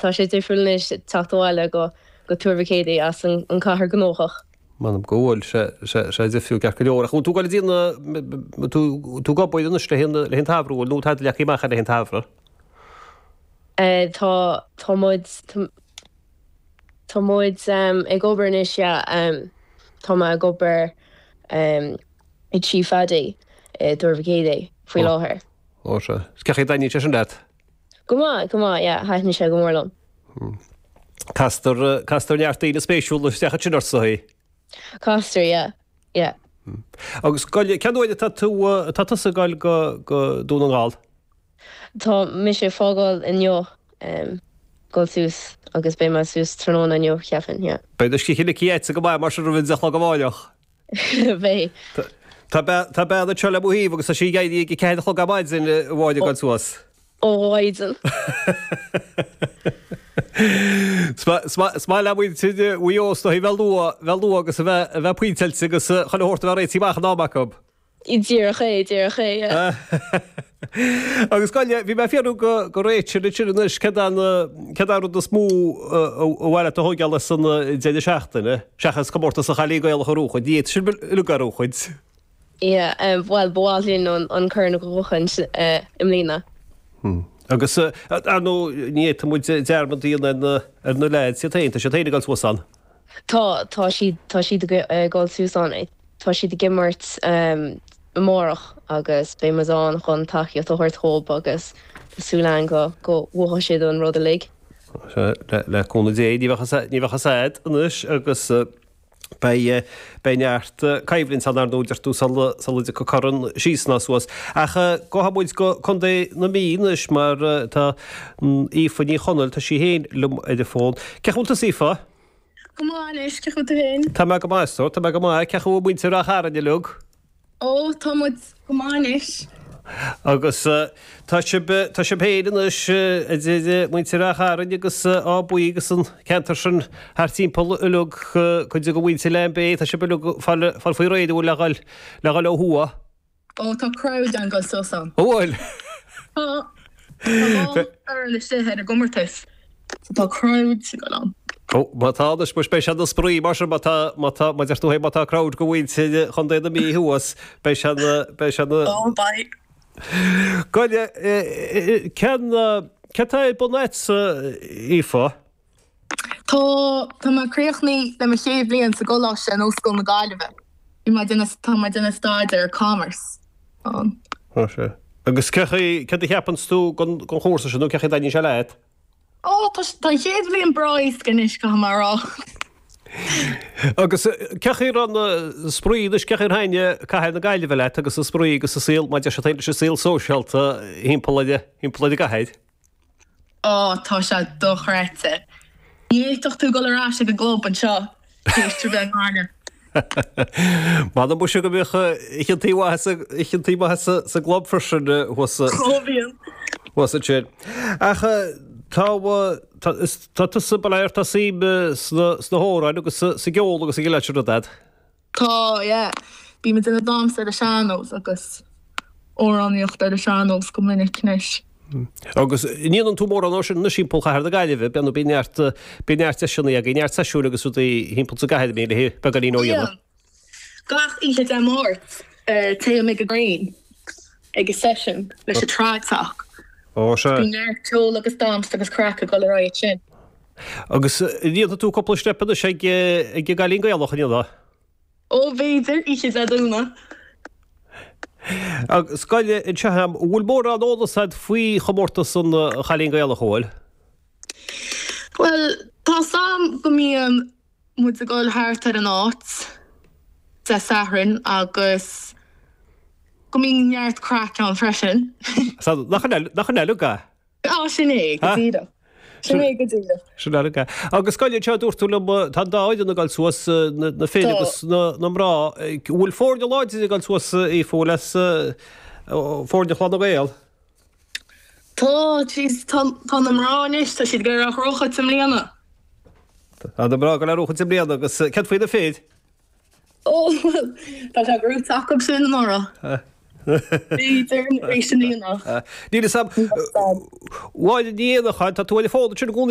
Tá sé difriúil anois teacht abhaile go go Tuar Mhic Éadaigh as an cathair gnóthach. M'anam go bhfuil sé sé difriúil ceart go leor. Ach bhfuil tú ag dul go dtí na tú tú ag obair anois le haghaidh an tsamhraidh bhfuil nó tá tú leagtha amach le haghaidh an tsamhraidh? Tá tá muid tá muid ag obair anois yeah tá mé ag obair i Tí Phaddy i dTuar Mhic Éadaigh faoi láthair. Ó sea. Cén chaoi a dtaitníonn sé sin leat? Go maith, go maith, yeah, thaitin sé go mór liom. Castar, castar neart daoine spéisiúla isteach ansin ort, is dóigh. Castar, yeah, yeah. Agus gabh i leith, cén uair atá tú, atá tusa ag dul go, go Dún na nGall? Tá mise ag fágáil inniu, dul suas agus beidh mé suas tráthnóna inniu, cheapfainn, yeah. Beidh do scíth ligthe agatsa go maith mar sin roimh an deich a chlog amáireach. Beidh. Tá tá bean anseo le mo thaobh agus tá sí ag éirí ag a ceathair a chlog ar maidin amháin ag dul suas. Ó mhaidean. Is maith le muintir Mhaigh Eo is dóigh bheith luath, bheith luath agus a bheith, a bheith pointeáilte agus chuile shórt a bheith réitithe amach in am acu. Díreach é, díreach é, yeah. Agus gabh i leith, bhí mé ag fiafraí go, go Rachel ansin anois, céard é an, céard é an rud is mó a ba mhaith leat a thóigeáil as an deireadh seachtaine, seachas comórtas an Chailín Gaelach a bhuachaint, ní fhéadfaí sin uilig a bhuachaint. Yeah, bhuel, ba mhaith linn an, an corn a bhuachaint i mbliana. Agus, ar ndóigh, ní fhéadfaidh muid dearmad a dhéanamh ar na, ar na leaids iad féin, tá siad féin ag dul suas ann. Tá, tá siad, tá siad ag dul suas ann. Tá siad ag imirt amárach agus beidh muid ann chun tacaíocht a thabhairt dhóibh agus tá súil againn go go bhuafaidh siad an rud uilig. Le cúnamh Dé, ní bheadh ní bheadh fhios a'd anois agus beidh beidh neart coimhlint ann ar ndóigh deir tú sula sula dtiocfaidh corn síos ná suas. Ach gabhfaidh muid go Contae na Mí anois mar tá Aoife Ní Chonaill, tá sí féin liom ar an bhfón. Cén chaoi a bhfuil tusa Aoife? Go maith anois, cén chaoi a bhfuil tú féin? Tá mé go maith, a stór, tá mé go maith. Cén chaoi a bhfuil muintir Ráth Chairn uilig? Ó, tá muid go maith anois. Agus tá sibh, tá sibh féin anois, a deir muintir Ráth Chairn agus Áth Buí agus an ceantar sin thart timpeall uilig, cuid de mhuintir Lambay, tá sibh uilig ag fáil, fáil faoi réir, an bhfuil, le dhul, le dhul ó thuaidh. Ó, tá crowd ann dul suas ann. An bhfuil? Tá. Tá dhá fhoireann istigh ar an gcomórtas. So tá crowd ag dul ann. Ó, má tá anois, muis beidh sé ina spraoi mar sin, má tá, má tá, má deir tú féin má tá crowd go mhuintir Chontae na Mí thuas, beidh sé ina, beidh sé ina. Ó, beidh. Gabh i leith, cén, céard atá ar bun a'dsa, Aoife? Tá, tá mé críochnaithe le mo chéad bhliain sa gcoláiste in Ollscoil na Gaillimhe. Bhí mé ag déanamh, tá mé ag déanamh staidéar Commerce ann. Tá sé. Agus cé chaoi, céard a cheapanns tú den, den chúrsa sin nó cé chaoi a dtaitníonn sé leat? Ó, tá, tá an chéad bhliain breá éasca anois, caithfidh mé a rá. Agus cé chaoi a raibh an spraoi anois, cé chaoi ar thaitnigh cathair na Gaillimhe leat agus an spraoi agus an saol, mar deir siad féin, leis an saol sóisialta thimpeall ar, thimpeall ar an gcathair? Ó, tá sé dochreidte. Ní fhéadfadh tú dul ar ais ag an gclub anseo tar éis bheith i nGaillimh. M'anam muise go mbíodh oícheantaí maithe oícheantaí maithe sa gclub freisin thuas Ó bhíonn. thuas ansin. Ach tá tá tusa bail ó Dhia ort tá suim sna sna hamhráin agus sa gceol agus a leithéid sin rud a'd. Tá, yeah. Bím ag déanamh damhsa ar an sean-nós agus amhránaíocht ar an sean-nós go minic anois. Agus an ndéanann tú mórán dó sin anois thimpeall chathair na Gaillimhe, bíonn bíonn neart bíonn neart deiseanna agaibh, neart seisiúin agus rudaí thimpeall sa gcathair a mbíonn le beagáinín ó dhéanamh. Bíonn. Gach oíche Dé Máirt téim ag an Grain ag an session leis an Trad Soc. Ó sea. Bíonn neart ceol agus damhsa agus craic ag dul ar aghaidh ansin. Agus an ndéanfaidh tú cúpla steip anois ag an gCailín Gaelach, an ndéanfaidh? Ó, b'fhéidir, oíche Dé Domhnaigh. Agus gabh i leith anseo a'm, an bhfuil mórán eolas a'd faoi chomórtas an Chailín Gaelach, an bhfuil? Bhuel, tá 's a'm go mbíonn muid ag dul thart ar an áit Dé Sathairn agus go mbíonn neart craic ann freisin. Nach in uilig é? Á, sin é, go díreach. Sin é go díreach. Sin é. Agus gabh i leith anseo, dúirt tú liom, tá an dá fhoireann ag dul suas, na fir agus na mná. An bhfuil foirne láidir ag dul suas, Aoife, bhfuil as foirne Chlann na nGael? Tá, jeez, tá na mná anois, tá siad ag dul a ghnóthachaint i mbliana. Tá na mná ag dul a ghnóthachaint i mbliana agus céard faoi na fir? Ó, bhuel, tá sé gnóite acu sin anuraidh. B'fhéidir arís i mbliana. Níl fhios a'm. Mháire Ní Éanacháin, tá tú ar an bhfón ansin i gcónaí.